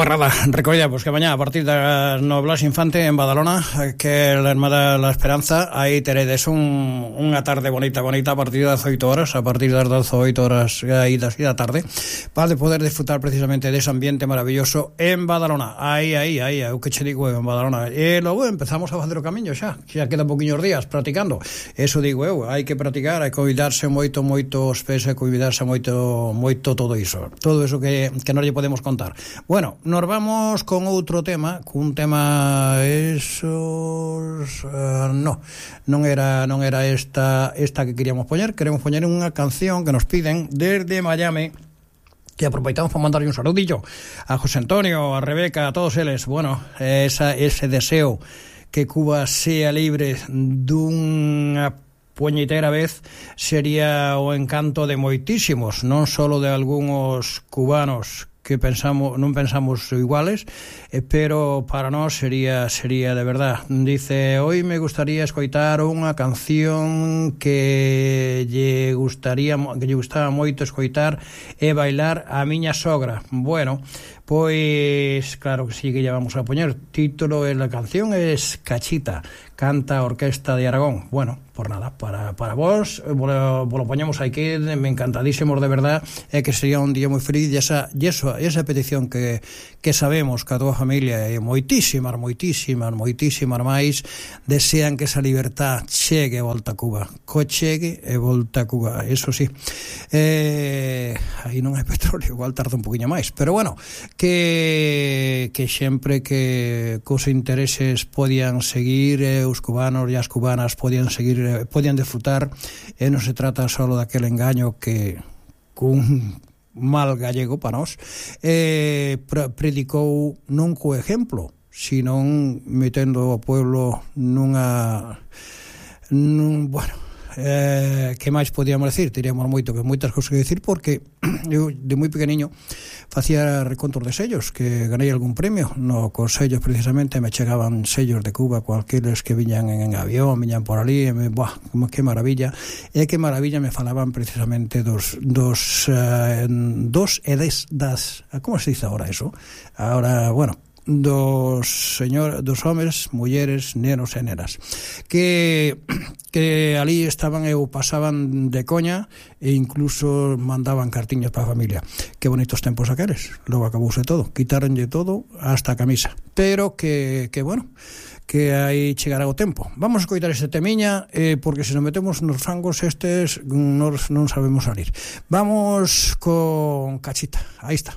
guarrada. Recordemos que mañá a partir das 9 Blas Infante en Badalona, que é a Hermada La Esperanza, aí teredes unha tarde bonita a partir das 8 horas, a partir das 18 horas aí da tarde, para poder disfrutar precisamente dese ambiente maravilloso en Badalona. Aí, o que che digo eu, en Badalona. E logo empezamos a facer o camiño xa quedan poquinhos días practicando. Eso digo eu, hai que practicar, hai que cuidarse moito os pés, hai que cuidarse moito todo iso que non lle podemos contar. Bueno, nos vamos con outro tema, cun tema non era esta que queríamos poñer unha canción que nos piden desde Miami, que aproveitamos para mandarlle un saludillo a José Antonio, a Rebeca, a todos eles. Bueno, ese deseo que Cuba sea libre dunha puñetera vez sería o encanto de moitísimos, non solo de algúns cubanos que non pensamos iguales, pero para nós sería de verdad. Dice, hoy me gustaría escoitar unha canción que lle gustaba moito escoitar e bailar a miña sogra. Bueno, pois claro que sí que ya vamos a poñer. Título de la canción es Cachita, canta a Orquesta de Aragón. Bueno, por nada, para vos lo poñemos aquí, me encantadísimos de verdad, que sería un día moi feliz, e esa petición que sabemos que a túa familia e moitísimas máis desean que esa libertad chegue e volta a Cuba, eso sí. Aí non hai petróleo, igual tarda un poquinho máis, pero bueno, que sempre que cos intereses podían seguir, os cubanos e as cubanas podían seguir, podían disfrutar, e non se trata só daquele engaño que cun mal gallego para nós predicou non co exemplo, sino metendo o pueblo que máis podíamos decir? Teríamos moitas cousas que decir, porque eu de moi pequeniño facía recontos de sellos, que ganei algún premio cos sellos, precisamente me chegaban sellos de Cuba, cualqueles que viñan en avión, viñan por ali, que maravilla, e que maravilla me falaban precisamente dos como se dice ahora eso? Ahora, bueno, dos homes, mulleres, nenos e nenas que ali estaban e pasaban de coña, e incluso mandaban cartiñas para a familia. Que bonitos tempos aqueles. Logo acabouse todo, quitaronlle todo hasta a camisa, pero que bueno, que aí chegará o tempo. Vamos a escoitar este temiña, porque se nos metemos nos fangos estes non sabemos salir. Vamos con Cachita, aí está.